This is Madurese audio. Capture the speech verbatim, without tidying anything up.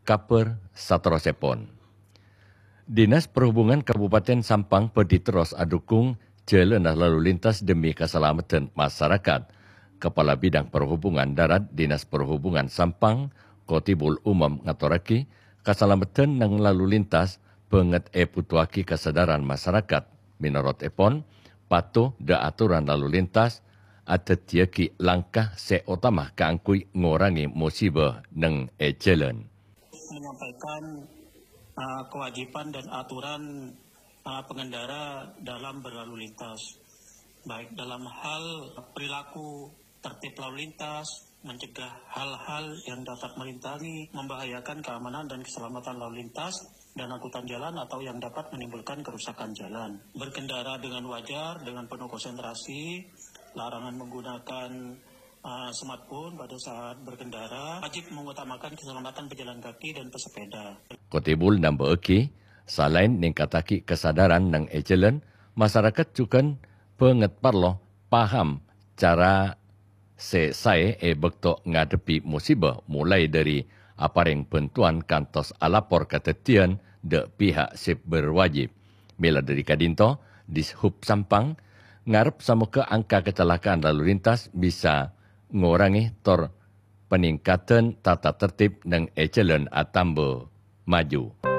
Kabhâr saterrossèpon. Dinas Perhubungan Kabupaten Sampang bhâdhi terros adhukung jhâlânna lalu lintas dhemmi kasalameddhân masarakat. Kapala Bidang Perhubungan Darat Dinas Perhubungan Sampang, Kotibul Umum ngatorraghi, kasalameddhân neng lalu lintas bângèt èbhutoaghi kasadhârân masarakat. Mènorot èpon, pato dâ' atoran lalu lintas adhâddhiyâghi langkah sè otama kaangghuy ngorangè mosiba neng è jhâlân. Menyampaikan, eh, kewajiban dan aturan, eh, pengendara dalam berlalu lintas, baik dalam hal perilaku tertib lalu lintas, mencegah hal-hal yang dapat merintangi, membahayakan keamanan dan keselamatan lalu lintas dan angkutan jalan atau yang dapat menimbulkan kerusakan jalan. Berkendara dengan wajar, dengan penuh konsentrasi, larangan menggunakan, uh, smartphone pada saat berkendara, wajib mengutamakan keselamatan pejalan kaki dan pesepeda. Kotibul nambâ'âghi, salaèn nèngkattaghi kasadhârân neng è jhâlân, masarakat jhughân bângèt parlo paham cara sè saè è bâkto ngadhebbhi mosiba, molaè dhâri aparèng bhântowan kantos alapor kadhâddhiyân dâ' pihak sè berwajib. Mèla dhâri ka'dinto, Dishub Sampang ngarep samogâ angka kacelakaan lalu lintas bisa ngorangè tor panèngkaddhân tata tertib neng è jhâlân atamba maju.